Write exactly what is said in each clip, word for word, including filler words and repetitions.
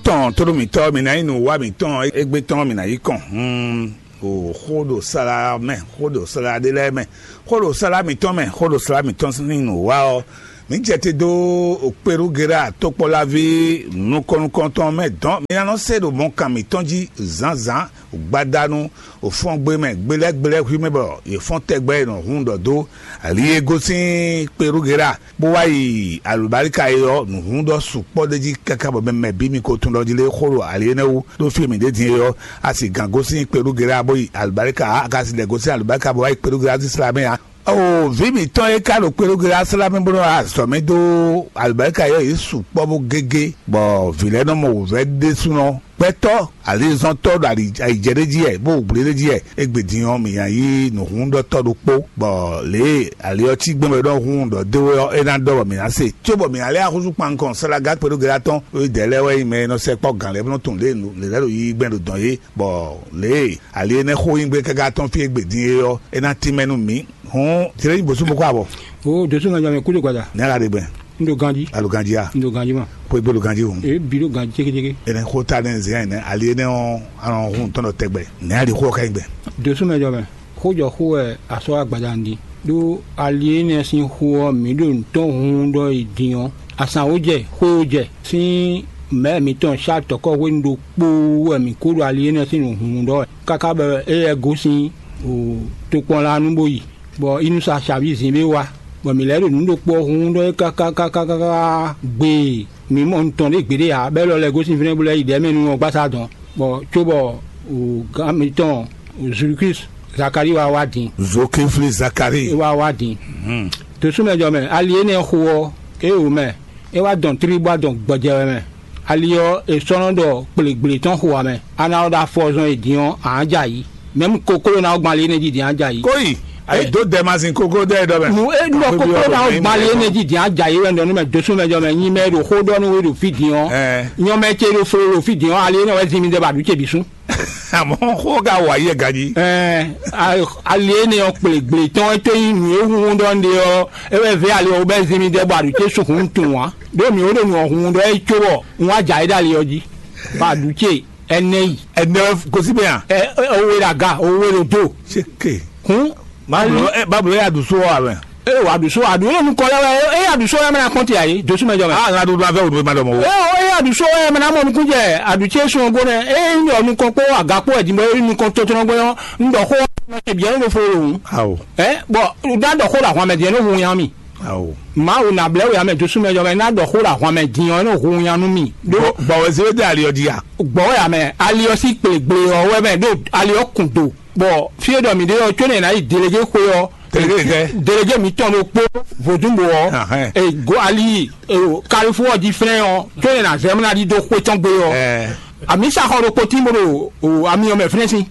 tɔn tónú mǐtɔn, mǐ ná nyí nǔwa mǐtɔn égbé tɔn, mǐ ná yi kɔn hun o xó ɖo sala mɛ, xó ɖo sala ɖé lɛ́ɛ mɛ, xó ɖo sala mǐtɔn mɛ, xó ɖo sala mǐtɔn sín nǔwa ɔ́. Mǐ jɛ te dó Okpelugera tokpɔ́laví nukɔn-nukɔntɔn mɛ dɔn, mǐ ná nɔ se ɖo mɔkan mǐtɔn jí zǎnzǎn gbadanu, òfɔngbe mɛ gbelɛ́gbelɛ́ hwí mɛ bɔ yě fɔ́n tɛgbɛ e nɔ hun ɖɔ dó ali e gosín Kperugera bó wá yi alǔbáríka é ɔ́, nǔhún ɖɔ sukpɔ́ ɖ'é jí káká bɔ mɛ mɛ bǐ mi ko tunwun ɖɔ jí lé xó ɖo ali énɛ́ wú ɖó fí e mǐ ɖe din é ɔ́, a sì gǎn gosín Kperugera bó yi alǔbáríka ǎ, a ka sì lɛ̌ gosín alǔbáríka bó wá yi Kperugera sín sla mɛ ǎ. Oo, vǐ mǐtɔn e ka ɖo Kperugera slá mɛ bó nɔ́ wá azɔ̌ mɛ dó alǔbáríka é ɔ́, yě sukpɔ́ bó gégé, bɔ vǐ lɛ́ɛ nɔ mɔ wǔvɛ́ ɖésúnɔ. Gbɛtɔ́ alizɔntɔ́ ɖo ali ayǐjɛ ɖé jí wɛ, bó gblé ɖé jí wɛ, égbé din ɔ́, mǐ ná yí nǔhúnɖɔtɔ́ ɖokpó, bɔ lě e ali ɔ́ cí gbɛn bɔ é nɔ hun ɖɔ dó é ɔ́, é ná ɖɔ bɔ mǐ ná se, cóbɔ mǐ ná lɛ́ axúsú kpankɔn Salaga Kpedógelá tɔn, é dɛ̌ lɛ́ɛ wɛ nyí mɛ e nɔ sɛkpɔ́ gǎn lɛ́ɛ bó nɔ́ tunwun lě e nǔ lě lɛ́ɛ ɖo yiyi gbɛn ɖo dɔ̌n é, bɔ lě e ali énɛ́ xó nyí gbé káká tɔn fí égbé din é ɔ́, é ná tínmɛ nú mǐ. Hǔn, jlé nyí bǒsú bó kó abɔ. O dosu mɛ jɔ mɛ kúdo gbada. Nɛ́ la ɖe gbɛn? N ɖo ganjí. Alo ganjí a? N ɖo ganjí ma. Xwé gbé ɖo ganjí hǔn. E bi ɖo ganjí cékécéké. Ɛnɛ xó ta nɛ zɛn ɛnɛ ali énɛ́ ɔ́, anɔ hun tɔn ɖɔ tɛgbɛ. Nɛ́ ali xó ɔ́ ka nyí gbɛn? Dosu mɛ jɔ mɛ. Xó jɔ xó wɛ asɔ́ agbada n ɖi. Ɖó ali énɛ́ sín xó ɔ́, mǐ ɖo nǔtɔn hun ɖɔ yi din ɔ́, asǎn ó jɛ, xwé ó jɛ. Sín mɛ̌ mǐtɔn Sátɔkɔ́ hwenu ɖokpó wɛ mǐ kó ɖo ali énɛ́ sín nǔhún ɖɔ wɛ. Káká bɔ éyɛ́ gosín tokpɔnlanu bó yi, bɔ Inusa Xavi zin ɖé wá, bɔ mǐ lɛ́ ɖo nǔ ɖokpó ɔ́ hun ɖɔ é káká káká káká gbee. Mǐ mɔ nutɔn ɖé gbeɖé ǎ, bɔ é lɔ lɛ́ gosín fínɛ́ bó lɛ́ yi ɖɛ̌ mɛ nú ɔ́ gbasá dɔn, bɔ cóbɔ gǎn mǐtɔn Zulukísi Zakalíi wá wá din. Zokefli Zakalíi. É wá wá din. Tosúmɛjɔ mɛ, ali énɛ́ xo ɔ́, é wǒ mɛ, é wá dɔn tlí bó wá dɔn gbɔjɛ wɛ mɛ. Ali ɔ́, è sɔ́ nɔ ɖɔ kplegbletɔ́n xo ǎ mɛ. A ná ɔ́ ɖo afɔ zɔn e din ɔ́, ǎ jɛ ayǐ. Mɛ̌mu kokló ná ɔ́ gban ali énɛ́ jí din á jɛ ayǐ. Kóyi, ayǐ dó dɛ ma sin kókó dɛ ɖɔ mɛ. Nu e nɔ kókó ná ɔ́ gban ali énɛ́ jí din á jɛ ayǐ wɛ un ɖɔ nú mɛ dosúmɛjɔ mɛ nyi mɛ e ɖo xó ɖɔ nú we ɖo fí din ɔ́. Nyɔmɛ ce ɖo flo ɖo fí din ɔ́, ali énɛ́ wɛ zin mi ɖɛ bɔ aɖu ce bǐ sú. Àmọ́ xó ka wɔ ayé ɛ ganjí. Ɛɛ, ali énɛ́ ɔ́ kplegbletɔ́n é tó nyí nǔ e hun ɖɔ un ɖe ɔ́, é wɛ vɛ́ ali ɔ́ bɛ́ zin mi ɖɛ bɔ aɖu ce sú hun tunwun ǎ. Ɖó mǐ ó ɖo nǔ ɔ́ hun ɖɔ é cóbɔ un wá jɛ ayé ɖo ali ɔ́ jí. Bɔ aɖu ce ɛnɛ yi. Ɛnɛ gosí bɛ yan. Ɛ ɛ owe ɖo aga, owe ɖo do. Seke. Hun. Bablo ɛ bablo ya ɖu so wa mɛ. Ee, wà ɖu so aɖu yóò nukɔ lɛ wɛ. Eye aɖu so ya mɛ na kpɔn ti ayi dosu mɛ jɔ mɛ. Ah, ŋa ɖuɖu afɛ wòɖu ma ɖɔ mɔ wo. Ee, eye aɖu so ya mɛ na mɔ nukun jɛ aɖu ce sun go nɛ. Eye n ɖɔ nukɔn kpó aga kpó ɛdinbɔ eye nukɔn tɔtɔnɔ gbɔ yɔ. N ɖɔ xó wa ma ṣe biɛ ne fo o. Awo. Ɛ bɔn da ɖɔ xó la hɔn mɛ diɛ ne hu yan mi. Awo. Mawu na blɛ wo ya mɛ dosu mɛ jɔ mɛ na ɖɔ xó la hɔn mɛ din ɔ ne hu yan nu mi. Ɖo bɔwɛ se de ali ɔ di ya. Gbɔwɛ ya mɛ ali ɔ si kple gble ɔ wɛ mɛ ɖo ali ɔ kun do. Bɔ fí e ɖɔ mǐ ɖe ɔ́, có nɛ́ è nǎ yi delege xwe ɔ́, delege mǐtɔn ɖokpó vodúnbò ɔ́, ego ali kalifó ɔ́ jí flɛ́n ɔ́, có nɛ́ è nǎ zɛ mɔ ná ɖidó xwe tɔn gbe ɔ́. Amǐsa xɔ ɖokpó tín bó ɖo ami ɔ́ mɛ flɛ́n sín.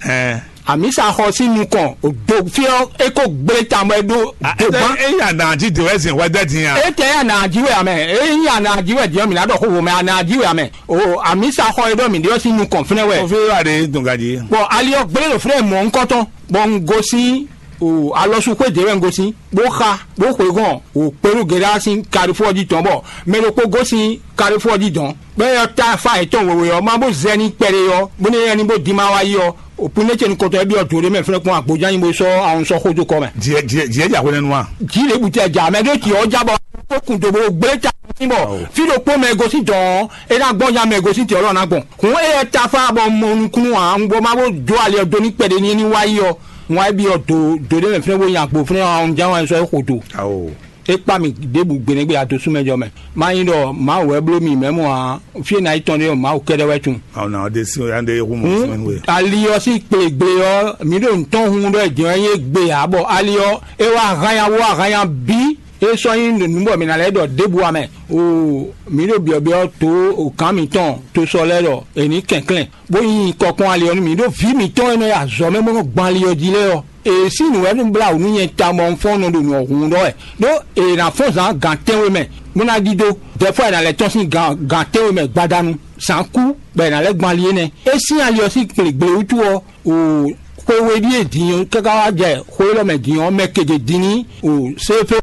Amǐsa xɔ sín nukɔn do fí ɔ́, é kó gblé ta bɔ é ɖó do gbán. Eyi ana jí de wɛ zin wɛ dɛ din a? Étɛ ya nà jí wɛ amɛ, eyi ya nà jí wɛ din ɔ́, mǐ ná ɖɔ xóxó mɛ, a nà jí wɛ amɛ. O amǐsa xɔ e ɖɔ mǐ ɖe ɔ́ sín nukɔn fínɛ́ wɛ. Kɔfí wà ɖe dɔn gají. Bɔ ali ɔ́ gblé ɖo fínɛ́ mɔ̌ ŋkɔtɔn, bɔ un gosín o alɔsu xwé dě wɛ un gosín, bó xa, bó xweyǐgɔn o kpelú Gɛdá sín kalifó ɔ́ jí tɔn, bɔ mɛ ɖokpó gosín kalifó ɔ́ jí dɔn. Bɔ éyɔ́ ta fá yětɔn wěwé ɔ́, má bó zɛ ní kpɛɖé ɔ́, bónú éyɛ́ ní bó dín má wá yi ɔ́, o Púnɛ́ ce nukɔntɔn ɔ́ byɔ́ jǒ ɖé mɛ fínɛ́ kpɔ́n agbojá nyi bó sɔ́ awun sɔ́ xó dó kɔ mɛ. Jǐ jǐ jǐ ɛ jà hwenɛ́nu a? Jǐ ɖěbǔ tɛ jà mɛ ɖó tǐ ɔ́ já bɔ ó kun do bó gblé ta sín bɔ fí ɖokpó mɛ e gosín dɔn ɔ́, é ná gbɔn nya mɛ e gosín tǐ ɔ́ lɔ ná gbɔn. Hǔn éyɛ́ táfá bɔ mɔ nukúnnú ǎ, un bó má bó jó ali ɔ́ dó ní kpɛɖé ní ní wá yi ɔ́, un wá yi byɔ́ do do ɖé mɛ fínɛ́ bó nyi agbo fínɛ́ ɔ́, un ján wɛ sɔ́ é xo do. Awo. É kpá mì ɖěbǔ gbeɖégbé adosúmɛjɔ mɛ. Má nyí ɖɔ Mawu wɛ bló mì mɛ̌ mɔ ǎ, fí e ná yi tɔn ɖé ɔ́, Mawu kɛ́ɖɛ́ wɛ tunwun. Awo na ɔ́ ɖe sí ya ɖe hu mɔ sɛmɛnu we. Ali ɔ́ sín kplěgblé ɔ́, mǐ ɖo nǔtɔn hun ɖɔ è jɛ́n wɛ nyí égbé ǎ, bɔ ali ɔ́, é wá hán nya wó wá hán nya bǐ. É sɔ́ nyí nǔ bɔ mǐ ná lɛ́ ɖɔ ɖěbǔ ǎ mɛ. Oo, mǐ ɖo byɔ̌byɔ́ dó gǎn mǐtɔn to sɔ lɛ́ɛ ɖɔ è nǐ kɛnklɛ́n, bó nyí kɔkpɔ́n ali ɔ́ nú mǐ, ɖó vǐ mǐtɔn e nɔ yi azɔ̌ mɛ bó nɔ gbɔn ali ɔ́ jí lɛ́ɛ ɔ́, è sín nǔ wɛ nú blá wǔ nú nyɛ ta bɔ un fɔ́n nɔ ɖo nǔ ɔ́ hun ɖɔ wɛ, ɖó è nǎ fɔ́n zǎn gǎn tɛ́nwe mɛ, bó ná ɖidó. Dɛ̌fɔ è nǎ lɛ́ tɔ́n sín gǎn gǎn tɛ́nwe mɛ gbadanu, zǎn kú, bɔ è nǎ lɛ́ gbɔn ali énɛ́. É sín ali ɔ́ sín kplěgblé wútu ɔ́, o xwe we ɖíe din ɔ́ káká wá jɛ xwe élɔ́ mɛ din ɔ́, mɛ kegě din ní o séfé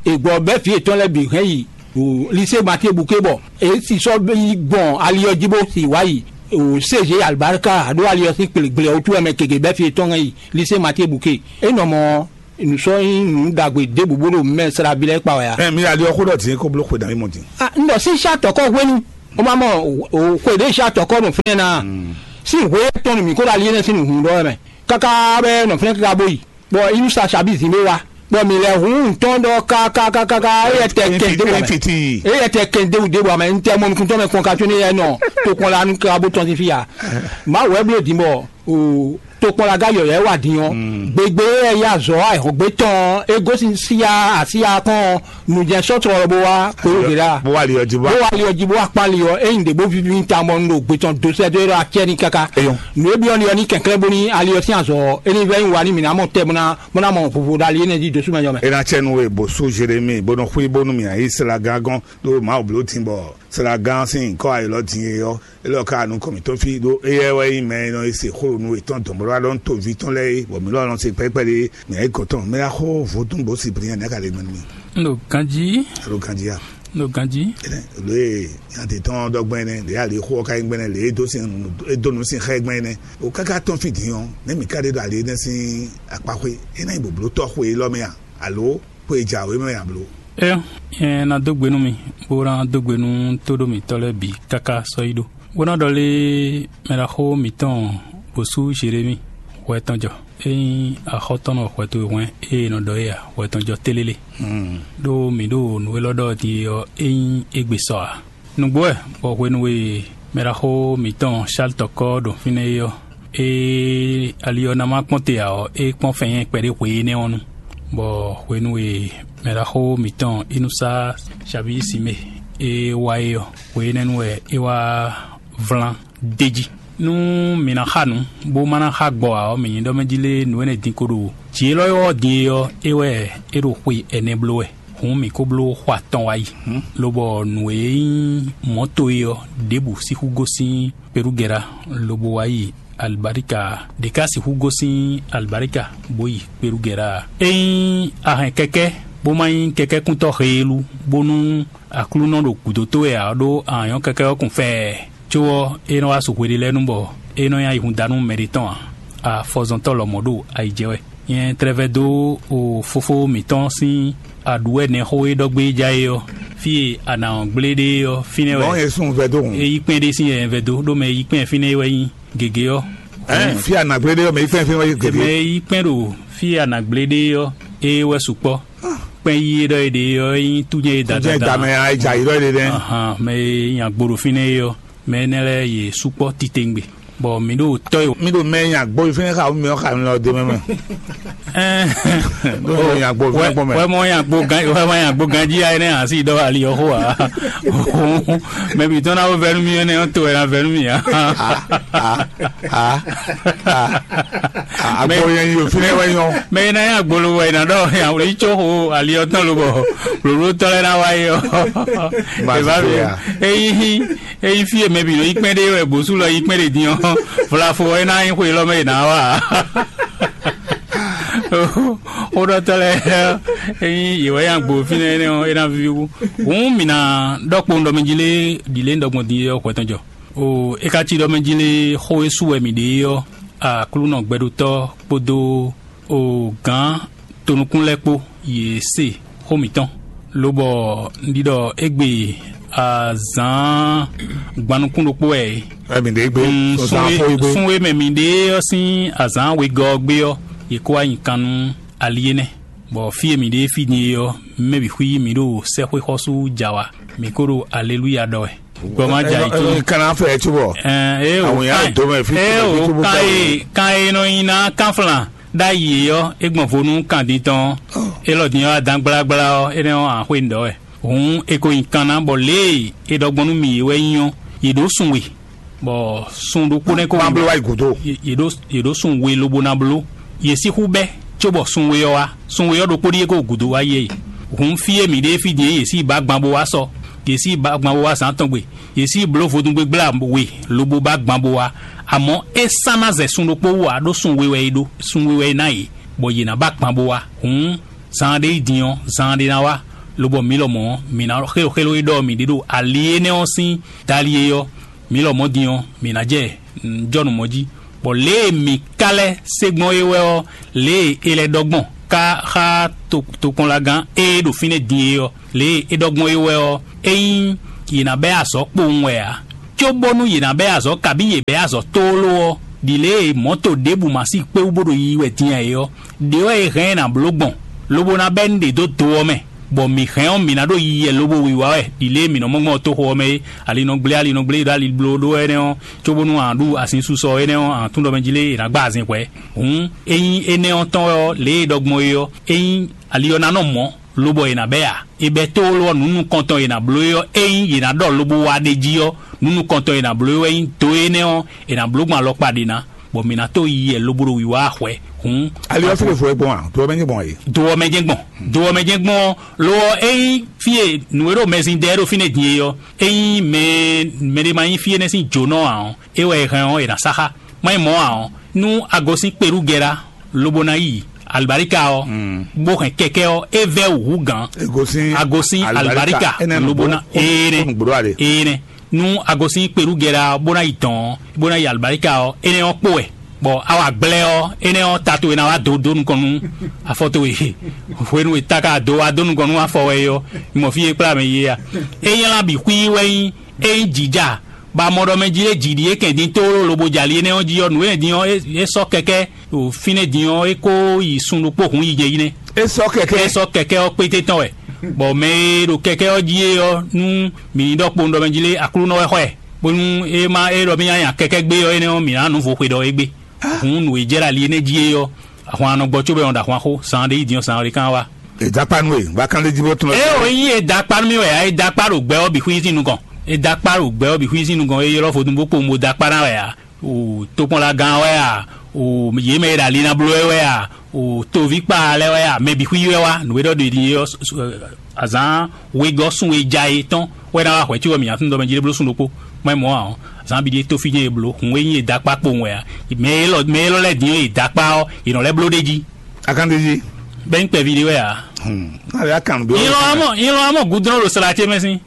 è gbɔ bɛ́ vǐ yětɔn lɛ́ɛ bǐ hɛn yi ɖo lise Matie Buke bɔ é si sɔ́ yi gbɔn ali ɔ́ jí bó si wá yi o C G Alibarika ɖó ali ɔ́ sín kplegble ɔ́ wútu wɛ mɛ gěgé bɛ́ fí tɔn yi lise Matie Buke. É nɔ mɔ nǔ sɔ́ nyí nǔ ɖagbe ɖěbǔ bó ɖo mɛ slábí lɛ́ɛ kpa wɛ a? Ɛ mi ali ɔ́ xó ɖɔ din kó bló xwe dǎ mí mɔ din. Ah, n ɖɔ sín sá tɔkɔ hwenu o ma mɔ o xwe ɖé sá tɔkɔ nɔ fínɛ́ ná. Sín hwe tɔn nú mǐ kó ɖo ali énɛ́ sín nǔhún ɖɔ wɛ mɛ káká bɛ nɔ fínɛ́ káká bó yi. Bɔ inú sa sabi zǐn mɛ wá. Bɔ mǐ lɛ hun ntɔn ɖɔ kákákákáká éyɛ tɛ kɛn dé wà mɛ. Éyɛ tɛ kɛn dé wù dé wà mɛ n tɛ mɔ nukun tɔn mɛ kɔn ka tso ne yɛ nɔ tokpɔn la nu káká bó tɔn sín fí ya. Má wɛ bló din bɔ o tokpɔnlaga yɔyɔ̌ wɛ wá din ɔ́, gbegbe e yá azɔ̌ ayǐhɔ́ngbe tɔn ɔ́, é gosín síyá asíyá kɔn ɔ́, nǔjɛ sɔ́ tlɔlɔ bó wá kpódó ɖě ɖa. Bó wá li ɔ́ jí bó bó wá. Wá li ɔ́ jí bó wá kpán li ɔ́, ényí ɖě bó víví ta mɔ nú ɖo gbe tɔn dó sɛ́ dó é ɖɔ acɛ ní káká. Eyɔn. Nǔ e byɔ́ li ɔ́ ní kɛnklɛ́n bóní ali ɔ́ sín azɔ̌ ɔ́, é ní vɛ́ nyí wa ní mǐ ná mɔ tɛ bó ná bó ná mɔ vovo ɖo ali énɛ́ jí dó súnmɛ jɔ mɛ. É ná cɛ nú we bó sú Zerémi bó nɔ xwí bónú mì ayǐ Selaga gɔ́n ɖó Mawu bló din bɔ Selaga ɔ́ sín nyǐkɔ ayǐlɔ din e ɔ́, é lɔ ka nukɔn mǐtɔn fí ɖó éyɛ́ wɛ nyí mɛ e nɔ yi se xó ɖo nú yětɔn dɔ̌nblɔ́ɖɔ́nútoví tɔn lɛ́ɛ é, bɔ mǐ lɔ nɔ se kpɛ́kpɛ́ ɖé mǐ ayǐ gɔ̌n tɔn mɛ ná xó vodún bó si bǐ nyɛ nɛ́ ka ɖe gbɛn nú mì. Un ɖo ganjí, alo ganjí a? Un ɖo ganjí. Lě e nya te tɔn dɔgbɛn nɛ lě ali xó ɔ́ ka nyí gbɛnɛ lě e dó sin e dó nǔ sin xá ɛ gbɛn nɛ o káká tɔn fí din ɔ́, nɛ̌ mǐ ka ɖe ɖo ali énɛ́ sín akpaxwé? É ná nyí bòblótɔ́ xwe élɔ́ mɛ a, alo xwe e jǎwe mɛ a bló? É, nyɛ ná dó gbe nú mi, bó ná dó gbe nú tóɖó mǐtɔn lɛ́ɛ bǐ káká sɔ́ yi ɖó. Bó ná ɖɔ lé mɛ ɖaxó mǐtɔn bǒsú Zerémi hwɛ tɔn jɔ. É nyí axɔ́tɔ́nɔ hwɛ towe hwɛ́n e è nɔ ɖɔ é ǎ, hwɛ tɔn jɔ télélé. Ɖó mǐ ɖo nǔ élɔ́ ɖɔ din é ɔ́, é nyí égbé sɔ ǎ. Nǔgbó wɛ bɔ hwenu e mɛɖaxó mǐtɔn Sáltɔkɔ ɖo fínɛ́ é ɔ́, é ali ɔ́ ná má kpɔ́n te ǎ ɔ́, é kpɔ́n fɛnnyɛ́ kpɛɖé hwe énɛ́ ɔ́ nu, bɔ hwenu e mɛɖaxó mǐtɔn Inúsá Sabíyi Simée é wá é ɔ́, hwe énɛ́ nu wɛ é wá vlan d'é jí. Nú mǐ ná xa nǔ, bó ma ná xa gbɔ ǎ ɔ́, mǐ nyí ɖɔ mɛ jí lé nǔ énɛ́ din ko ɖo jǐ élɔ́ ɔ́ din é ɔ́, é wɛ é ɖo xwe ɛnɛ bló wɛ. Hǔn mǐ ko bló xɔ atɔn wá yi, lobɔ nǔ e nyí mɔ̌to é ɔ́, ɖěbǔ sixú gosín Perugɛra, lobo wá yi Alibarika, ɖě ka sixú gosín Alibarika bó yi Perugɛra ǎ. Ényí a hɛn kɛkɛ́, bó ma nyí kɛkɛ́kúntɔ́ heelú, bónú Aklúnɔ ɖo gǔdo towe ǎ, ɖó a nyɔ́ kɛkɛ́ ɔ́ kun fɛɛ. Có ɔ́, é nɔ wá su hweɖé lɛ́ɛ nu bɔ é nɔ nyi ayihúndánú mɛɖé tɔn ǎ. Afɔzɔntɔ́ lɔmɔ̌ ɖo ayi jɛ wɛ. Nyɛ tlɛ vɛdó o fófó mǐtɔn sín aɖǔwɛnɛxó e ɖɔ gbé ja é ɔ́, fí e a nǎ ɔ́ gblé ɖe é ɔ́, fínɛ́ wɛ Bɔn Yesu vɛdó hùn. É yí kpɛ́n ɖé sín yɛyɛ vɛdó, ɖó mɛ e yí kpɛ́n fínɛ́ é wɛ nyí gěgé ɔ́. Ɛn fí a nǎ gblé ɖé ɔ́, mɛ yi kpɛ́n fí wɛ yí Mɛ gěgé. E yí kpɛ́n ɖo fí e a nǎ gblé ɖe é ɔ́, é wɛ sukpɔ́. Kpɛ́n yí e ɖɔ é ɖe é ɔ́, é nyí tún nyɛ e da Tún nyɛ dandan. Da mɛ a yi dza yi ɖɔ é ɖe nɛ. Ahan, mɛ e nyi agbo ɖo fínɛ́ é ɔ́, mɛ énɛ́ lɛ́ɛ yě sukpɔ́ titewungbe, bɔ mǐ ɖo tɔ́ e Mi ɖo mɛ nya gbɔ yi fɛnɛ xa mi ɔ́ xa mi lɔ de mɛ mɛ. Ɖo mɛ nya gbɔ fɛnɛ kpɔ mɛ. Wɛ mɔ nya gbo gan wɛ mɔ nya gbo ganjí ya énɛ́ asi ɖɔ ali ɔ́ xó a. Mɛ bǐ tɔn ná wó vɛ́ nú mì énɛ́ ɔ́ to wɛ ná vɛ́ nú mì a. A a a a. Agbo yẹn yi o fínɛ wɛ nyɔ. Mɛ e ná nyi agbolo wɛ è nǎ ɖɔ yǎwlí có xo ali ɔ́ tɔn lobɔ blǒblótɔ́ lɛ́ɛ ná wá yi ɔ́. Má È vá ti fi ya. Ényí ényí fí e mɛ bǐ nɔ yí kpɛ́n ɖe wɛ bǒsú lɔ yí kpɛ́n ɖe din ɔ́, vlafo ɔ́ é ná nyí xwe élɔ́ mɛ è nǎ wá ǎ. Xóɖɔtɔ́ lɛ́ɛ ényí yě wɛ nyi agbo fínɛ́ énɛ́ ɔ́, é ná víví wú. Hǔn mǐ ná ɖɔ kpowun ɖɔ mɛ jí lé ɖi lě un ɖɔ gbɔn din é ɔ́ hwɛ tɔn jɔ. O é ka cí ɖɔ mɛ jí lé xó e su wɛ mǐ ɖe é ɔ́, Aklúnɔ gbɛɖotɔ́ kpódó o gǎn tonukún lɛ́ɛ kpó yě se xó mǐtɔn, lobɔ un ɖi ɖɔ égbé azǎn gbannukún ɖokpó wɛ é. Ɛ mi ɖe gbe Mm, sɔzan sun e- fo igbe. Sun e mɛ mǐ ɖe ɔ́ sín azǎn wegɔ́ ɔ́ gbé ɔ́, yě kó wá nyi kan nú ali énɛ́, bɔ fí e mǐ ɖe fí din é ɔ́, mɛ bǐ xwí mǐ ɖo sɛ́xwé xɔ́sú ja wa, mǐ ko ɖo aleluya ɖɔ wɛ. Gbɔ ma ja yi Ɛ, ɛ, cóbɔ. Kana fɛ cóbɔ. Ɛn, ee o Àwọn èèyàn kan tó mẹ́ fi ee tó o mẹ́ fi tó kan bá e kan e nɔ nyi ná kanflan ɖ'ayǐ é ɔ́, é gbɔn vo nú kan din tɔn. Élɔ́ din ɔ́, adán gblágbla ɔ́, énɛ́ ɔ́, àxwé ń ɖɔ wɛ. Hǔn è ko nyi kan ná bɔ lě e è ɖɔ gbɔn nú mì é wɛ nyí ɔ́, yě ɖó sun we, bɔ sun ɖokpó nɛ́ ko Má bló wá yi gǔdo. Yě yě ɖó yě ɖó sun we lobo ná bló. Yě sixú bɛ́, cóbɔ sun we ɔ́ wá. Sun we ɔ́ ɖokpó ɖíe ko gǔdo wá yi é. Hǔn fí e mǐ ɖe fí din é, yě sí ba gban bó wá sɔ. Yě sí ba gban bó wá zǎn tɔn gbe. Yě sí bló vodúngbégbla we lobo ba gban bó wá. Amɔ̌ é sán ná zɛ sun ɖokpó wú ǎ, ɖó sun we wɛ é ɖó. Sun we wɛ é ná yě, bɔ yě ná ba gban bó wá. Hǔn zan ɖé yi din ɔ́, zan ɖé ná wá, Lobɔ mǐ lɔmɔ̌, mǐ ná xéloxélo e ɖɔ mǐ ɖe ɖo ali énɛ́ ɔ́ sín dali é ɔ́, mǐ lɔmɔ̌ din ɔ́, mǐ ná jɛ nǔjɔnǔ mɔ jí, bɔ lě e mǐ ka lɛ́ se gbɔn é wɛ ɔ́, lě e è lɛ́ ɖɔ gbɔn ká xá tokpɔnlagán e ɖo fínɛ́ din é ɔ́, lě e é ɖɔ gbɔn é wɛ ɔ́, ényí yě ná bɛ́ azɔ̌ kpowun wɛ ǎ, cóbónú yě ná bɛ́ azɔ̌ kabí yě bɛ́ azɔ̌ tlóló ɔ́, ɖi lě e mɔ̌to ɖěbǔ ma sí kpé wú bó ɖo yiyi wɛ din ǎ é ɔ́, ɖě wɛ è hɛn ɛ ná bló gbɔn, lobo ná bɛ́ nǔɖé dó do ɔ́ mɛ, bɔ mǐ hɛn ɔ́, mǐ ná ɖo yiyi wɛ lobo wiwa wɛ ɖi lě e mǐ nɔ mɔ gbɔn toxo ɔ́ mɛ é. Ali nɔ gblé, ali nɔ gblé, ɖo ali bló ɖó wɛ énɛ́ ɔ́, cóbónú a nǎ ɖu asin susɔ énɛ́ ɔ́, a nǎ tún ɖɔ mɛ jí lé è nǎ gba azin hwɛ̌. Hǔn ényí énɛ́ ɔ́ tɔn wɛ ɔ́, lě e è ɖɔ gbɔn é ɔ́, ényí ali ɔ́ ná nɔ mɔ̌, lobɔ è nǎ bɛ́ ǎ. È bɛ́ tlóló ɔ́, nǔ nukɔntɔn e è nǎ bló é ɔ́, ényí è nǎ ɖɔ lobo wá ɖ'é jí ɔ́, nǔ nukɔntɔn e è nǎ bló é wɛ nyí do énɛ́ ɔ́, è nǎ bló gbɔn alɔkpa ɖě ná, bɔ mǐ ná tó yi yɛ lobo ɖo wǐwá hwɛ̌. Hǔn ali ɔ́ fí lě vo é gbɔn a? Do ɔ́ mɛ nyí gbɔn e? Do ɔ́ mɛ jɛ́n gbɔn. Do ɔ́ mɛ jɛ́n gbɔn ɔ́, lo ɔ́, ényí fí e nǔ e ɖo mɛzin ɖɛ ɖo fínɛ́ din é ɔ́, ényí mɛ mɛɖé ma nyí fí énɛ́ sín jǒnɔ ǎ ɔ́, é wɛ è hɛn ɔ́, è nǎ sá xá. Má nyí mɔ̌ ǎ ɔ́, nú a gosín kpeɖúgɛ́ɖá, lobo ná yi albarika ɔ́, bó hɛn kɛkɛ ɔ́, é vɛ́ wǔ hú gǎn. È gosín a gosín albarika, albarika, énɛ́ lobo ná nǔgbó, énɛ́ kó nǔgbó ɖó alě. Énɛ́. Nú a gosín kpeɖúgɛ́ɖá ɔ́, bó ná yi dɔn ɔ́, bó ná yi albarika ɔ́, énɛ́ ɔ́ kpó wɛ. Bɔ a wa gblɛ́ ɔ́, énɛ́ ɔ́, ta towe ná wá dó dó nukɔn nú afɔ towe. Hwenu e ta ka dó wá dó nukɔn nú afɔ wɛ é ɔ́, mɔ fí e kplá mɛ yi é a? É nylá bǐ xwí wɛ nyí, é nyí jǐ ja, bɔ a mɔ ɖɔ mɛ jí é jǐ ɖíe kɛn din tóó lobo jɛ ali énɛ́ ɔ́ jí ɔ́, nǔ énɛ́ din ɔ́, é, é sɔ́ kɛkɛ́ ɖo fínɛ́ din ɔ́, é kó yi sun ɖokpó hun yi jɛ yi nɛ́. É sɔ́ kɛkɛ́. É sɔ́ kɛkɛ́ ɔ́ kpété tɔn wɛ, bɔ mɛ e ɖo kɛkɛ́ ɔ́ jí é ɔ́, nú mǐ ní ɖɔ kpowun ɖɔ mɛ jí lé, Aklúnɔ wɛ xɔ ɛ, bónú é má é ɖɔ mì nya nya kɛkɛ́ gbé ɔ́, énɛ́ ɔ́, mǐ ná nǔ vo xwe ɖɔ é gbé. Hǔn nǔ e jɛ ɖo ali énɛ́ jí é ɔ́, ahwan nɔ gbɔ cóbɔ è nɔ ɖo ahwan xó, zan ɖé yi din ɔ́, zan ɖé kán wá. È dó akpá nú we, bó ká lé jí bó tún lɔ. Ée o yí e da akpá nú mì wɛ ǎ, e da akpá ɖo gbɛ ɔ́ bǐ xwí sín nukɔn. E da akpá ɖo gbɛ ɔ́ bǐ xwí sín nukɔn, e ylɔ́ vodún bó kpowun bó da akpá ná wɛ ǎ. O tokpɔnlagán wɛ a? O yě mɛ e ɖo ali ná bló wɛ a? O toví kpa lɛ́ɛ wɛ a? Mɛ bǐ xwí wɛ wá, nǔ e ɖɔ ɖe ɖi é ɔ́, azǎn wegɔ́ sun e ja é tɔn wɛ ná wá hwɛ̌ cí wɛ mǐ nya tún dɔ mɛ jí ɖé bló sun ɖokpó. Má nyí mɔ̌ ǎ ɔ́, azǎn bǐ ɖíe tófíjɛ́n e bló, hǔn e nyí e da akpá kpowun wɛ a? Mɛ élɔ́ mɛ élɔ́ lɛ́ɛ din e da akpá ɔ́, è nɔ lɛ́ bló ɖ'é jí. Akándéjí. Bɛ́ nyí kpɛví ɖé wɛ ǎ. Hmm. Náà yá kàn bí ɔ́. Nyilɔn amɔ nyilɔn amɔ gudrɔn ɖo sla ce mɛ sín.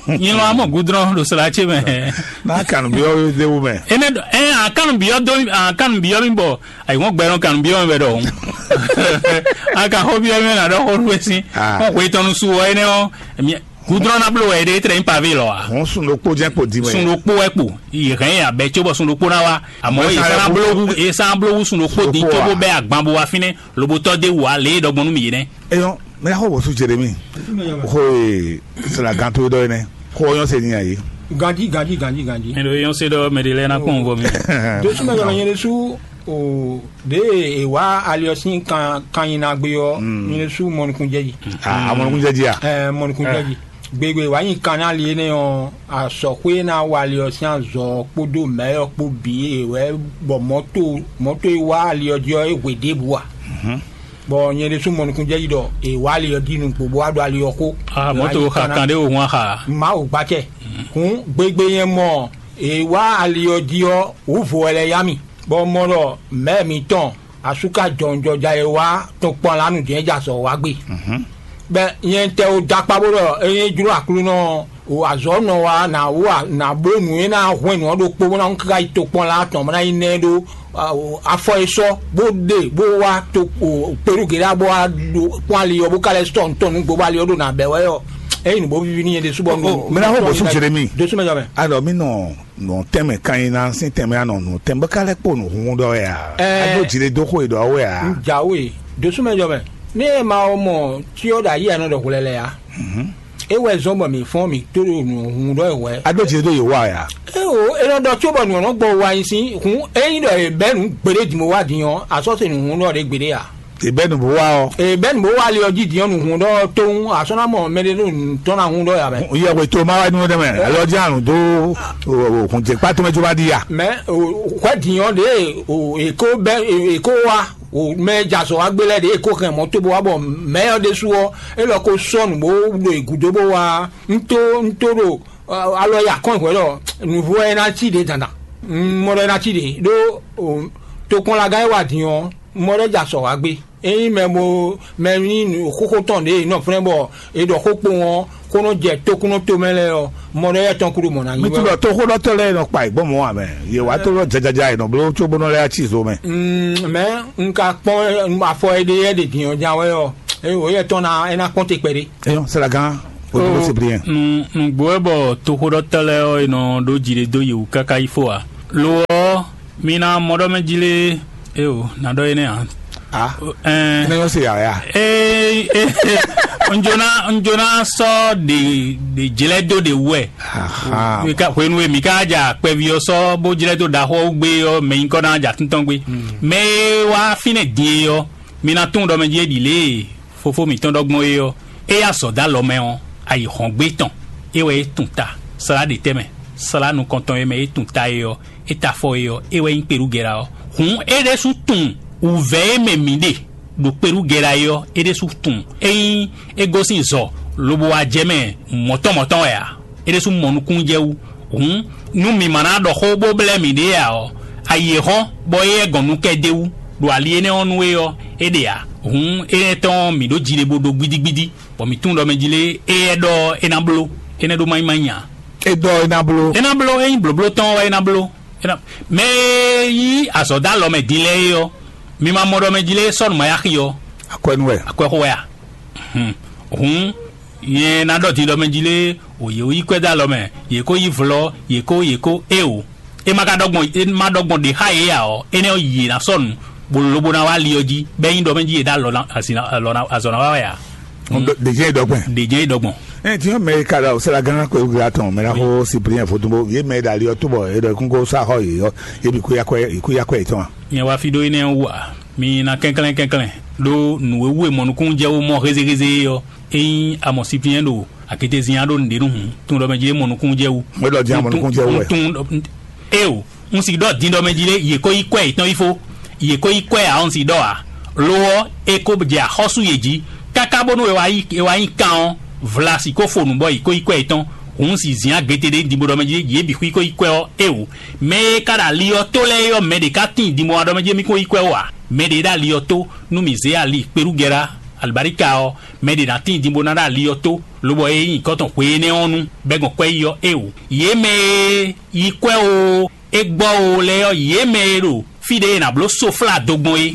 Nyilɔn amɔ gudrɔn ɖo sla ce mɛ. Náà kàn bí ɔ́ déwu mɛ. Ene ɛ akan bi ɔ do akan bi ɔ mi bɔ ayi wọn gbɛ nɔ kan bi ɔ mi bɛ dɔ. Aka xɔ bi ɔ mi na dɔ xɔ nu si. Ah. Wọn xɔ etɔn nu su wɔ ene ɔ. Gudrɔn na blo wɛ ɖe etre nyi pavé lɔ a. Wọn sun ɖokpó jẹ́ kpo di mɛ. Sun ɖokpó wɛ kpo. Yi hɛn ya bɛ tso bɔ sun ɖokpó na wa. Àmọ́ Mɛ sa esan lɛ kú. Blowu esan blowu sun ɖokpó di Ɖokpó tso wa. Bó bɛ agban bo wa fínɛ. Lobotɔ de wa lé dɔgbɔn nu mi yi nɛ. Eyɔn, mɛ xɔ wòsu Jeremi. Xo e sila ganto dɔ yi nɛ. Xo yɔn se ni ayi. Ganji, ganji, ganji, ganji. Mɛ ɖo yɔn se ɖɔ mɛ ɖe lɛ na kpɔn vɔ mi. Dosu mɛ yɔn yɛn su o de e wa aliɔsin kan kan yin na gbe yɔ. Yɛn su mɔnukun jɛji. Ah, amɔnukun jɛji a. Ɛ mɔnukun jɛji. Gbegbe wa yin kan na li ne ɔ asɔxwe na wa aliɔsin azɔ kpodo mɛ yɔ kpo bi e wɛ bɔ mɔto mɔto e wa aliɔ jɔ e hwe de bu a. Bɔ nyɛ ɖésú mɔ nukúnjɛ́ yi ɖɔ è wá ali ɔ́ jí nukpo bó wá ɖo ali ɔ́ xó. Ah, mɔ̌ to xa kan ɖé wò hun axa. Mawu gbacɛ. Hǔn gbegbe nyɛ mɔ è wá ali ɔ́ jí ɔ́, wǔ vo wɛ lɛ́ yá mì, bɔ mɔ ɖɔ mɛ̌ mǐtɔn asúka jɔnjɔja e wá tɔn kpɔn lǎ nǔjɛ́n jɛ azɔ̌ wá gbe. Bɛ nyɛ tɛ wo da kpa bó ɖɔ é nyí jló Aklúnɔ o azɔ̌ nɔ wá nǎ wá nǎ bló nǔ e ná hwɛ́n nǔ ɔ́ ɖokpó bó ná káká yi tokpɔn lá tɔn bó ná yi nɛ ɖó afɔ e sɔ́ bó ɖe bó wá to kpeɖúgěɖá bó wá ɖo kpɔ́n ali ɔ́ bó ka lɛ́ sɔ́ nǔ tɔn nú gbogbo ali ɔ́ ɖo nǎ bɛ́ wɛ ɔ́, é nyí nǔ bó víví n'i é ɖésú bɔ. Mɛ ná xɔ bɔsú Jeremi. Dosú mɛ jɔ mɛ. Alɔ mi nɔ nɔ tɛmɛ kan yi na sín tɛmɛ anɔ nɔ tɛmɛ bó ka lɛ kpo nɔ hun ɖɔ ya. Ɛɛ. Ado jire dó xo yi ɖɔ awɛ ya. Jawe dosú mɛ jɔ mɛ. Ne ma mɔ tí ɔ́ ɖo ayi anɔ ɖɔ hwlɛlɛ ya. É wɛ zɔ́n bɔ mǐ fɔ́n mǐ tó ɖo nǔhun ɖɔ wɛ. Ado jire dó yi wa ya. Eo, é nɔ ɖɔ có bɔ nǔ ɔ́ nɔ gbɔ wa nyi sín hun ényí ɖɔ è bɛ́ nǔ gbeɖé din bó wá din ɔ́, a sɔ́ se nǔhun ɖɔ ɖě gbeɖé a. È bɛ́ nǔ bó wá ɔ́. È bɛ́ nǔ bó wá ali ɔ́ jí din ɔ́, nǔhun ɖɔ tóun a sɔ́ ná mɔ mɛ ɖé ɖo nǔ tɔn ná hun ɖɔ ya mɛ. Yɛ wɛ to ma wá nú ɖe mɛ, alɔ jẹ́ àrùn dó hùn jẹ́ pátó mɛ tó bá di ya. Mɛ hwɛ din ɔ́ ɖě è kó bɛ́ è kó wá. O mɛ jɛ azɔ wa gbé lɛ ɖe e ko hɛn mɔ to bó wa bɔ mɛ ɔ ɖésú ɔ, e lɔ ko sɔ nǔ bó ɖo e gúdo bó wa. Ntó ntó ɖo alɔ ya kɔn hwɛ lɔ nǔvó ɛ ná cí ɖe dandan. Mɔ ɖɔ ɛ ná cí ɖe ɖó tokpɔnlagán e wa din ɔ, mɔ ɖɔ jɛ azɔ wa gbé. Ényí mɛ bo mɛ nyí xóxó tɔn ɖě e nɔ flɛ́n bɔ è ɖɔ xó kpowun ɔ́, xó nɔ jɛ tókúnɔ tomɛ lɛ́ɛ ɔ́, mɔ ɖɔ éyɛ́ tɔn kúɖu mɔ̌ ná nyí. Mi tunwun ɖɔ toxóɖɔtɔ́ lɛ́ɛ nɔ kpa yi gbɔn mɔ̌ ǎ mɛ. Yě wá tó ɖɔ jajaja è nɔ bló cóbónɔ lɛ́ɛ cí zo mɛ. Mɛ un ka kpɔ́n afɔ e ɖe yɛ ɖe din ɔ́ ján wɛ ɔ́, é wǒ yɛ tɔn ná é ná kpɔ́n te kpɛɖé. Eyɔn sɛlɛgán odúró Cyprien. Nǔgbó wɛ bɔ toxóɖɔtɔ́ lɛ́ɛ ɔ́, è nɔ ɖó jiɖe dó yi wǔ káká yi fó ǎ. Lo ɔ́, mi ná mɔ ɖɔ mɛ jí lé. Eo, ná ɖɔ énɛ́ ǎ. Ah, Ɛn, énɛ́ nyɔ́ se yǎyá. Ee, ee, un jló ná un jló ná sɔ́ ɖe ɖe jlɛ́ dó ɖe wú wɛ. Aha. Mi ka hwenu e mi ka ja kpɛví ɔ́ sɔ́ bó jlɛ́ dó ɖaxó ɔ́ gbé ɔ́, mɛ nyí kɔ ná ja tíntɔ́n gbé. Mɛ e wá fínɛ́ din e ɔ́, mi ná tunwun ɖɔ mɛ jí é ɖi lě e fofó mǐtɔn ɖɔ gbɔn é ɔ́, é yá azɔ̌ dó alɔ mɛ ɔ́, ayǐ hɔn gbé tɔn, é wɛ é tun ta. Slá ɖe tɛ́ mɛ, slá nukɔntɔn e mɛ é tun ta é ɔ́, é ta afɔ é ɔ́, é wɛ nyí kpeɖúgɛ́ ɔ́. Hǔn é ɖésú tunwun wǔvɛ́ e mɛ mǐ ɖe ɖo kpeɖúgɛ́ é ɔ́, é ɖésú tunwun. Ényí é gosín zɔ lobo wá jɛ mɛ mɔ̌tɔn mɔ̌tɔn wɛ ǎ, é ɖésú mɔ nukúnnú jɛ wú. Hǔn nú mǐ ma ná ɖɔ xó bó blɛ́ mǐɖée ǎ ɔ́, ayi e hɔ́n bɔ éyɛ́ gɔn nú kɛ d'é wú ɖo ali énɛ́ ɔ́ nú é ɔ́, é ɖe ǎ. Hǔn énɛ́ tɔn ɔ́, mǐ ɖó jiɖe bó ɖó gbídígbídí, bɔ mǐ tunwun ɖɔ mɛ jí lé éyɛ́ ɖɔ é ná bló, énɛ́ ɖó má nyí má nyí ǎ. É ɖɔ é ná bló. É ná bló, é nyí blǒbló tɔn ɔ́ wɛ é ná bló. É ná, mɛ e yí azɔ̌ dó alɔ mɛ din lɛ́ɛ é ɔ́, mi ma mɔ ɖɔ mɛ jí lé sɔ́ nǔ ma yá xi ɔ́, Akwɛ́nú wɛ. Akwɛ́xó wɛ a? Hǔn, hǔn nyɛ ná ɖɔ din ɖɔ mɛ jí lé o yě wú yí kwɛ́ dó alɔ mɛ, yě kó yí vlɔ́, yě kó yě kó é o. É ma ka ɖɔ gbɔn é ma ɖɔ gbɔn ɖě xá yě ǎ ɔ́, énɛ́ ɔ́ yě ná sɔ́ nǔ, bó lobo ná wá ali ɔ́ jí, bɔ é nyí ɖɔ mɛ jí è ɖó alɔ ná azɔ̌ ná wá wɛ a? Ɖě jɛ́n é ɖɔ gbɔn. Ɖě jɛ́n é ɖɔ gbɔn. Ɛ tiɲɔ mɛ e ka ɖo awusala gán kpé wúgla tɔn mɛ ná xó Cyprien vodúnbó yé mɛ e ɖo ali ɔ́ tó bɔ è ɖɔ kún kó sá xɔ yě ɔ́, yé bǐ kú yá kwɛ yě kú yá kwɛ yětɔn a? Nyɛ wá fí ɖó énɛ́ ɔ́ wú ǎ. Mi ná kɛnklɛ́n kɛnklɛ́n ɖó nǔ e wú è mɔ nukúnnú jɛ wú mɔ hézéhézé é ɔ́, ényí a mɔ Cyprien ɖo akétezin ɔ́ ɖó nǔɖé nu hǔn, tunwun ɖɔ mɛ jí é mɔ nukúnnú jɛ wú. Mɛ ɖɔ jɛ́n a mɔ nukúnnú jɛ wú wɛ. Tunwun ɖɔ eo, un sì ɖɔ din ɖɔ mɛ jí lé, yě kó yí kwɛ yětɔn yi fó, yě kó yí kwɛ ǎ, un sì ɖɔ ǎ. Lo ɔ́, è ko jɛ axɔ́sú yě jí, káká bónú è wá yi è wá nyi kan ɔ́, vla sì kó fo nǔ bɔ yě kó yí kwɛ yětɔn. Hǔn sì zǐn agbe ɖé din bó ɖɔ mɛ jí yě bǐ xwí kó yí kwɛ ɔ́, eo. Mɛ e ka ɖo ali ɔ́ tó lɛ́ɛ é ɔ́, mɛ ɖě ka tíin din bó wá ɖɔ mɛ jí mì kó yí kwɛ ó ǎ. Mɛ ɖě ɖo ali ɔ́ tó, nú mǐ zé ali kpeɖúgɛ́ɖá alibarika ɔ́, mɛ ɖě ná tíin din bó ná ɖo ali ɔ́ tó, lobɔ é nyí nyǐkɔ tɔn hwe énɛ́ ɔ́ nu, bɔ é gbɔn kwɛ́ yi ɔ́, eo. Yě mɛ e yí kwɛ́ oo, é gbɔ oo lɛ́ɛ ɔ́, yě mɛ e ɖo fí ɖě è nǎ bló soflá do gbɔn é.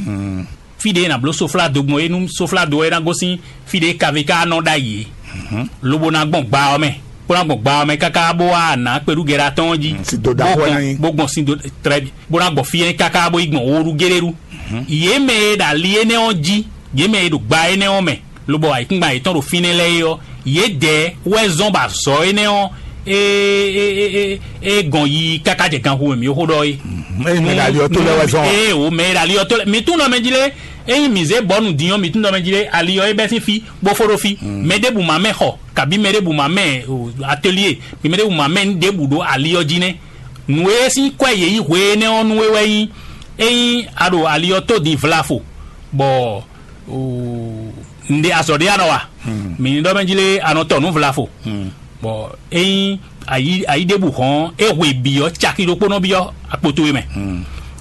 Fí ɖě è nǎ bló soflá do gbɔn é, nú soflá do ɔ́ é ná gosín fí ɖě kavé ka nɔ ɖ'ayǐ é, lobo ná gbɔn gba ɔ́ mɛ, bó ná gbɔn gba ɔ́ mɛ káká bó wá nǎ kpeɖúgɛɖá tɔn ɔ́ jí, Sin do ɖaxó wɛ ná nyí. Bó gbɔn sin do trɛ bó ná gbɔ fí énɛ́ káká bó yi gbɔn wóɖú géɖéɖú. Yě mɛ e ɖo ali énɛ́ ɔ́ jí, yě mɛ e ɖo gba énɛ́ ɔ́ mɛ, lobɔ ayǐkúngban yětɔn ɖo fínɛ́ lɛ́ɛ é ɔ́, yědɛɛ wɛ zɔ́n bɔ azɔ̌ énɛ́ ɔ́ é é é é é gɔn yiyi káká jɛ ganxu mɛ mǐ xó ɖɔ é. Ényí mɛ ɖo ali ɔ́ tó lɛ́ɛ wɛ zɔ́n. Ee o, mɛ e ɖo ali ɔ́ tó lɛ́ɛ, mǐ tunwun ɖɔ mɛ jí lé, ényí mǐ zé bɔ̌ nǔ din ɔ́, mǐ tunwun ɖɔ mɛ jí lé, ali ɔ́ é bɛ́ sín fí, bó fó ɖó fí. Mɛ ɖěbǔ ma mɛ xɔ, kabí mɛ ɖěbǔ ma mɛ o, atelier, mɛ ɖěbǔ ma mɛ nǔ ɖěbǔ ɖó ali ɔ́ jí nɛ́. Nǔ e sín kwɛ́ yě yí hwe énɛ́ ɔ́ nú é wɛ nyí, ényí a ɖo ali ɔ́ tó din vlafo, bɔ un ɖe azɔ̌ ɖé a nɔ wa. Mǐ ní ɖɔ mɛ jí lé a nɔ tɔ nǔ vlafo. Bɔ ényí ayi ayi ɖěbǔ hɔn é hwe bǐ ɔ́, caki ɖokpó nɔ byɔ́ akpo towe mɛ.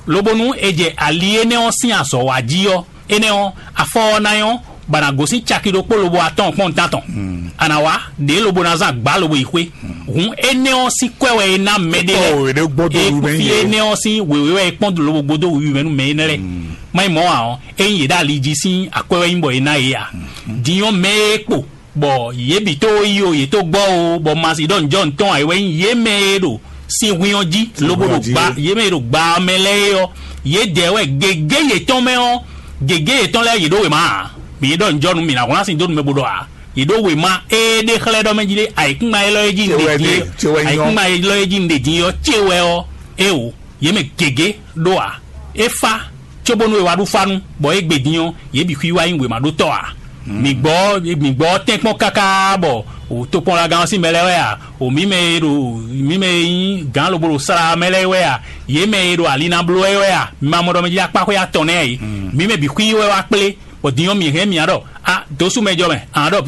Lobonu è jɛ ali énɛ́ ɔ́ sín azɔ̌ wa jí ɔ́, énɛ́ ɔ́, afɔ ɔ́ ná nyɔ́, bɔ a nǎ gosín caki ɖokpó lobo atɔ́ɔ́n kpɔ́n nǔtán tɔn. A nǎ wá ɖě lobo ná zán gbǎ lobo yi xwé. Hǔn énɛ́ ɔ́ sín kwɛ́ wɛ è ná mɛɖé lɛ́ɛ. Kpɔ́n wěɖé gbɔn dó wǔ mɛ é kún fí nyí é. Énɛ́ ɔ́ sín wěwé wɛ è kpɔ́n lobo gbódó wǔ mɛ nú mɛ énɛ́ lɛ́ɛ. Má nyí mɔ̌ ǎ ɔ́, ényí yě ɖo ali jí sín akwɛ́ wɛ nyí bɔ è ná yě ǎ. Din ɔ́, mɛ e kpo bɔ yě bǐ tó yi o, yě tó gbɔ o, bɔ ma si ɖɔ nǔjɔ ntɔn ǎ, é wɛ nyí yě mɛ e ɖo sin hwin ɔ́ jí, lobo ɖo gba yě mɛ e ɖo gba ɔ́ mɛ lɛ́ɛ é ɔ́, yědɛɛ wɛ gěgé yětɔn mɛ ɔ́, gěgé yětɔn lɛ́ɛ yě ɖó wěma ǎ. Mǐ ɖɔ nǔjɔ nú mǐ ná hwlán sin dó nú mɛ bó ɖɔ ǎ. Yě ɖó wěma e ɖe xlɛ́ ɖɔ mɛ jí lé, ayǐkúngban élɔ́ e jí un ɖe din é, ayǐkúngban élɔ́ e jí un ɖe din é ɔ́, ce wɛ ɔ́, é o, yě mɛ gěgé ɖó ǎ. É fá, cóbónú è wá ɖu fá nú, bɔ égbé din ɔ́, yě bǐ xwí wá nyí wěmaɖótɔ́ ǎ. Mǐ gbɔ mǐ gbɔ tɛ́nkpɔ́n káká bɔ o tokpɔnlagán ɔ́ sín mɛ lɛ́ɛ wɛ a? O mǐ mɛ e ɖo mǐ mɛ e nyí gǎn lobo ɖo sala mɛ lɛ́ɛ wɛ a? Yě mɛ e ɖo ali ná bló wɛ wɛ a? Mi ma mɔ ɖɔ mɛ jí akpáxwé atɔn nɛ́ ǎ é? Mǐ mɛ bǐ xwí wɛ wá kplé, bɔ din ɔ́ mǐ hɛn mǐ ɖɔ a dǒsú mɛ jɔ mɛ a ɖɔ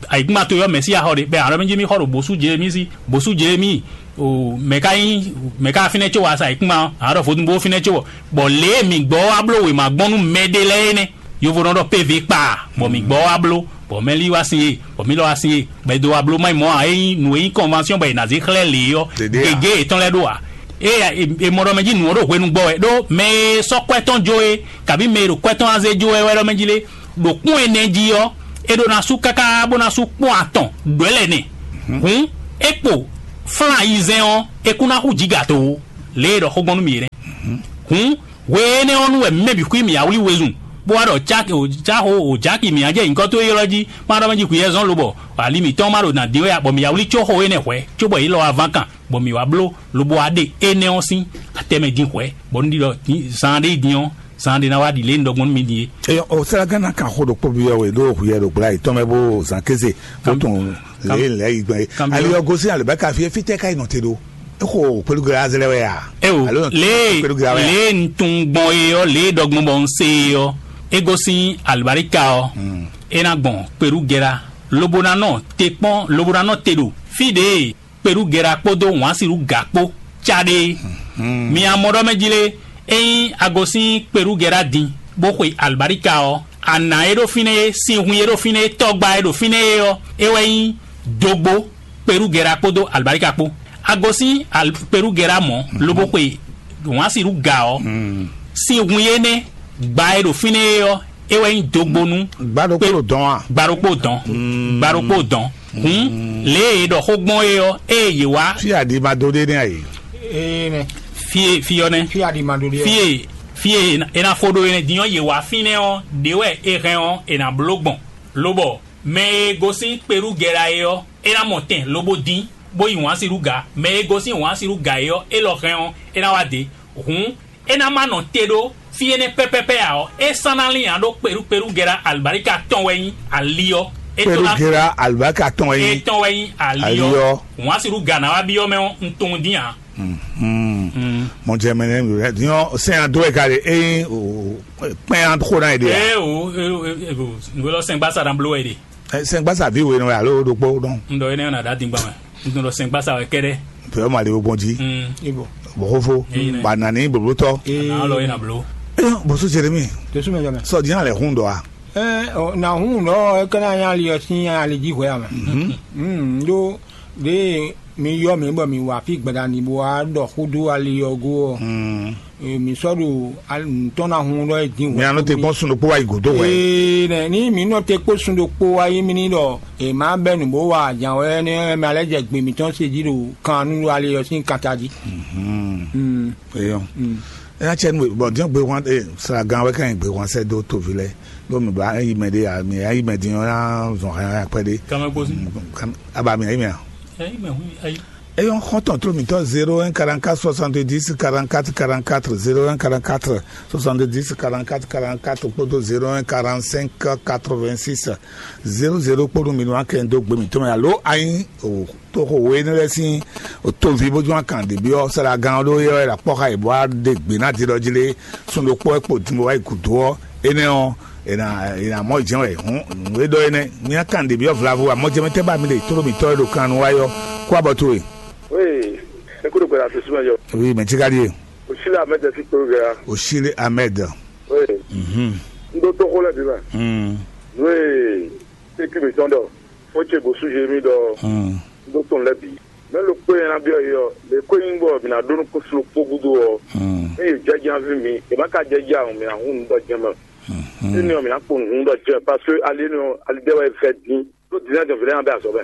ayǐkúngban towe ɔ́ mɛ̌si axɔ ɖe bɔ a ɖɔ mɛ jí mì xɔ ɖo bǒsú Jelemíi sí, bǒsú Jelemíi o mɛ̌ ka nyí mɛ̌ ka fínɛ́ có wá sa ayǐkúngban ɔ́? A ɖɔ vodún bó fínɛ́ có bɔ bɔ lě e mǐ gbɔ wá bló wěma gbɔn nú mɛɖé lɛ́ɛ é nɛ́. Yovo nɔ ɖɔ P V kpa, bɔ mǐ gbɔ wá bló, bɔ mɛ lí wá sin e, bɔ mǐ lɔ wá sin e, bɔ è dó wá bló má nyí mɔ̌ ǎ. É nyí nǔ e nyí convention bɔ è nǎ zé xlɛ́ lě ɔ́, Ɖeɖe ǎ. Gěgé yětɔn lɛ́ɛ ɖó ǎ. É è mɔ ɖɔ mɛ jí nǔ ɔ́ ɖo hwenu gbɔ wɛ, ɖó mɛ e sɔ́ kwɛ́ tɔn jó é, kabí mɛ e ɖo kwɛ́ tɔn wá zé jó wɛ wɛ ɖɔ mɛ jí lé, ɖo kpɔ́n ɛnɛ jí ɔ́, é ɖó ná sú káká bó ná sú kpɔ́n atɔn ɖɔ̌ lɛ́ɛ nɛ. Hǔn é kpo flán ayizɛ́n ɔ́, é kún ná xú jǐgato ó, lě e è ɖɔ xó gbɔn nú mì é nɛ́. Hǔn hwe énɛ́ ɔ́ nu wɛ mɛ bǐ xwí mì awlí wezun, bó wá ɖɔ cáxo òjáki mǐ á jɛ nyǐkɔ towe ylɔ́ jí, má ɖɔ mɛ jí hwǐ yɛzɔ́n lobɔ ali mǐtɔn ma ɖo nǎ dín wɛ ǎ, bɔ mǐ awlí có xo énɛ́ hwɛ̌, cóbɔ yě lɔ wá ván kan, bɔ mǐ wá bló, lobo wá ɖe énɛ́ ɔ́ sín atɛmɛ din hwɛ̌, bɔ un ɖi ɖɔ zan ɖé din ɔ́, zan ɖé ná wá ɖi lě un ɖɔ gbɔn nú mi din é. Eyɔ, o sɛ́lɛ́gán ná kan xó ɖokpó byɔ́ we ɖó hwiyɛ ɖo gbla yětɔn mɛ bó zan kéze bó Kam- tunun kam- lě lɛ́ yi gbɛn é. Kam- Ali ɔ́ gosín alǒbáka fí é, fítɛ́ ká yi nɔ te ɖó? É xo kpéɖugbla azlɛ wɛ a? Eo, Alo lě kpéɖugbla wɛ a? Lě un tunwun gbɔn é ɔ́, lě e ɖɔ gbɔn bɔ un se é ɔ́, é gosín alǒbáríka ɔ́, é ná gbɔn kpéɖugɛ́ ɖa, lobo ná nɔ te kpɔ́n, lobo ná nɔ te ɖo fí ɖě e kpéɖugɛ́ ɖa kpódó wǎnsiɖú gǎ kpó cá ɖe é. Mi amɔ ɖɔ mɛ jí lé, ényí a gosín kpéɖugɛ́ ɖa din, bó xwe alǒbáríka ɔ́, a nǎ e ɖo fínɛ́ é, sin hun e ɖo fínɛ́ é, tɔ́gbá e ɖo fínɛ́ é ɔ́, é wɛ nyí dógbó kpéɖugɛ́ ɖa kpódó alǒbáríka kpó. A gosín al- kpéɖugɛ́ ɖa mɔ̌, lobo xwe wǎnsiɖú gǎ ɔ́, sin hun énɛ́ gba e ɖo fínɛ́ é ɔ́, é wɛ nyí dógbó nú Gbá ɖokpó ɖo dɔn a? Gba ɖokpó dɔn. Gba ɖokpó dɔn. Hǔn lě e è ɖɔ xó gbɔn é ɔ́, ée yě wá Fí aɖi ma dó ɖé nɛ́ a yě? Ee nɛ. Fí e fí ɔ́ nɛ́. Fí aɖi ma ɖo ɖe. Fí e fí e è nǎ- è nǎ fó ɖó énɛ́ din ɔ́, yě wá fínɛ́ ɔ́, ɖě wɛ è hɛn ɔ́, è nǎ bló gbɔn. Lobɔ mɛ e gosín kpéɖugɛ́ ɖa é ɔ́, é ná mɔ tɛn lobo dín, bó yi wǎnsiɖú gǎ. Mɛ e gosín wǎnsiɖú gǎ é ɔ́, é lɔ hɛn ɔ́, é ná wá dě. Hǔn é ná ma nɔ te ɖó fí énɛ́ pɛ́pɛ́pɛ́ ǎ ɔ́, é sán ná lín ǎ ɖó kpéɖú kpéɖú gɛ́ɖá alibáríka tɔn wɛ nyí ali ɔ́. É tó ná Kpéɖugera alibáka tɔn wɛ é nyí. Tɔn wɛ nyí ali Ali ɔ́. Ɔ́. Wǎn sixú ga ná wá byɔ́ mɛ ɔ́, un tunwun dín ǎ. Mhm. Mɔjɛmɛ nɛ nyɔ sɛn ado wɛ ka ɖe eye kpɛn an xo na yi ɖe a. Ee o, ee o, ee o, nǔgbé lɔ sɛn gbasa ɖan bló wɛ ɖe. Sɛn gbasa vi we nɔ alo ɖokpó dɔn. Un ɖɔ énɛ́ ɔ́ ná ɖo adingba mɛ. Un tunwun ɖɔ sɛn gbasa wɛ kɛɖɛ. Pɛ́ ma le gbɔn jí. Mm. Ibo. Bɔxófó. Eyi nɛ. Ba nani blóblótɔ. Ee. Ana lɔ yina blo. Eyɔn bɔsú jeremi. Tesu mɛ jɔmɛ. Sɔ diɲa lɛ hun dɔ a. Ɛ ɔ, na hun dɔ ɛ kɛnɛ anya li ɔsi anya li ji hwɛ ame. Mm, do de mi yɔ mi bɔ mi wa fi gbɛdani bo wa dɔ xudu ali ɔgo ɔ. Mm. Ee, mi sɔ ɖo nutɔn na hun dɔ e din. Mi anɔ te kpɔn sun ɖokpó wa yi godo wɛ. Ee nɛ ni mi nɔ te kpó sun ɖokpó wa yi mi ni dɔ e ma bɛ nu bo wa jan wɛ ne mi alɛ jɛ gbe mitɔn se ji ɖo kan nu ali ɔsi kanta ji. Mm. Eyɔn. Ena cɛ nu bɔn diɲɛ gbe wan e sra gan wɛ kan gbe wan sɛ do tovi lɛ. Ɖo mi ba eyi mɛ ɖe ya mi eyi mɛ din ɔn ya zɔn hɛn ya kpɛ ɖe. Kama gosi. Aba mi eyi mɛ a. Eyi mɛ hu ayi. Eyɔn xɔntɔn tlo mitɔ zéro un quarante quatre soixante dix quarante quatre quarante quatre zéro un quarante quatre soixante dix quarante quatre quarante quatre kpódó zéro un quarante cinq quatre vingt six zéro zéro kpódó mi nɔ akɛ do gbe mitɔ mɛ alo anyi o. Toxo we énɛ́ lɛ́ɛ sín toví bó zɔ́n akan ɖě byɔ́ sɛ́ɖagán ɔ́ ɖó éyɛ́ wɛ è nǎ kpɔ́ xá yě bó wá ɖe gbě ná din ɖɔ jí lé, sun ɖokpó wɛ kpo din bó wá yi gǔdo ɔ́, énɛ́ ɔ́, è nǎ è nǎ mɔ jɛ́n wɛ hǔn nǔ e ɖɔ énɛ́. Mi akan ɖě byɔ́ vlavo amɔjɛmɛtɛ́ ba mi ɖe tló mǐtɔn e ɖo kan nu wá yɔ kó abɔ towe. Oui, é kúrò gbɛdá tó súnmọ́ yɔ. Oui, mɛ tí ka ɖíe. Òṣìlẹ̀ Ahmed ẹ̀ sí kpéwú gẹ̀rá. Òṣìlẹ̀ Ahmed. Oui. Mhm. Ń dó tó xó lẹ́bi mẹ́. Mm. Nú è sékú mǐtɔn ɖɔ, fó ce gosú Jérémie ɖɔ, Mm. Ɖó tɔn lɛ́ɛ bǐ. Mɛ ɖokpó e ná byɔ́ yě ɔ́, lě ko nyí bɔ mǐ ná ɖó nú kúsu ɖokpó gúdo ɔ́, Mm. ényí yě jɛ jí ná ví mǐ, è má ka jɛ jí a, mǐ ná hun nǔ ɖɔ jɛ́n mɛ. Mhm. Énɛ́ ɔ́, mǐ ná kpo nǔ hun ɖɔ jɛ́n mɛ, parce que ali énɛ́ ɔ́, ali ɖé wɛ è fɛ dín. Ɖó dǐndán jɔ̌nví lɛ́ɛ ná bɛ azɔ̌ mɛ.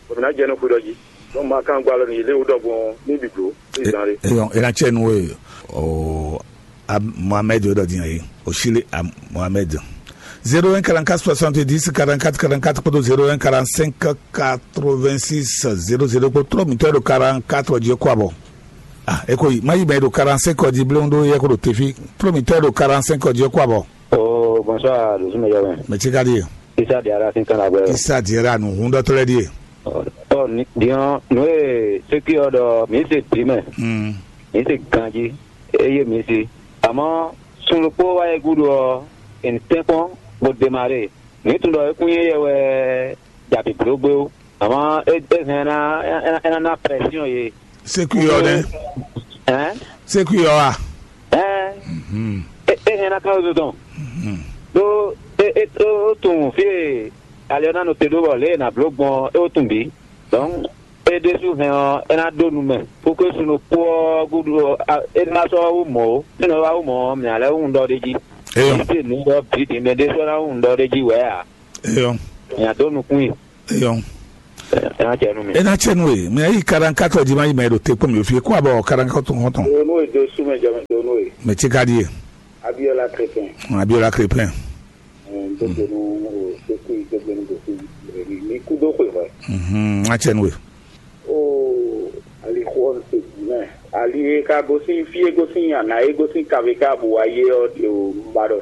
Bɔ mǐ ná jɛ nú xwé ɖɔ jí. Bɔ mǐ ma ka gba alɔ nú yě lé wú ɖɔgbɔn ní bǐ bló, ní zán ɖé. Eyɔn, é ná cɛ nú we o. Mohamed ɖɔ din ayi. Osile Mohamed. Zéro un quarante-quatre soixante-dix quarante-quatre quarante-quatre kpódó zéro un quarante-cinq quatre-vingt-six zéro zéro kpó trɔ́ mǐtɔn ɖo quarante-quatre jí kó abɔ. Ah, é ko yi. Má yi mɛ ɖo quarante-cinq jí blé ɖó yɛ kó ɖo tefi. Trɔ́ mǐtɔn ɖo quarante-cinq jí kó abɔ. Oh, bonsoir, Dosunmɛ Jɔmɛ. Mɛ tí ka ɖíe. Isa Diara sín kan agbɛ. Isa Diara nǔ hún ɖɔtɔ́ lɛ́ɛ ɖíe. Ɔ, ɔ, ni- diɔn, nǔ e sékí ɔ ɖɔ, mǐ se dǐ mɛ, Mm. mǐ se ganjí, eye mǐ se. Àmọ́, sun ɖokpó wá yɛ gúdo ɔ́, è nǐ tɛ́nkpɔ́n bó démaré. Mǐ tunwun ɖɔ é kún nyí éyɛ́ wɛ ja bǐbló gbé ó. Àmọ́, é, é hɛn ná, é, é, é ná ná pression yě. Sékú ɔ nɛ. Ɛn? Sékú ɔ a. Ɛn? Mhm. É, é hɛn ná ká ló dɔn. Mhm. Ɖó É ó tunwun fí e ali ɔ́ ná nɔ te ɖó bɔ lě e è nǎ bló gbɔn ɔ́, é ó tunwun bǐ. Dɔ̌n é ɖésú hɛn ɔ́, é ná ɖó nu mɛ, bókú é sun ɖokpó ɔ́ gúdo ɔ́, é ná sɔ́ wá wú mɔ̌ ó. É nɔ wá wú mɔ̌ ɔ́, mǐ ná lɛ́ wú nǔ ɖɔ ɖ'é jí. Eyɔ́. Mǐ se nǔ ɖɔ bǐ din mɛ ɖé sɔ́ ná wú nǔ ɖɔ ɖ'é jí wɛ̌ ǎ. Eyɔ́. Mǐ ná dó nukún i. Eyɔ́. É ná cɛ nú we. É ná cɛ nú we. Mɛ yí kaɖankátɔ jí má yi mɛ ɖo te kpɔ́n mǐ fí. Kó abɔ kaɖankátɔ tɔn tɔn. Donú e dó sú mɛ jɛ mɛ donú e. Mɛ tí ka ɖíe. Abiola Krépin. Abiola Krépin. Dókenu o sékú dókenu dókú. Mi kú dó xwe hwɛ. Mhm, acɛnwe. O, ali xɔ se mɛ. Ali e ka gosín fí e gosín ana e gosín kave ká bu wa yé ɔ́ ɖe o, un ba ɖɔ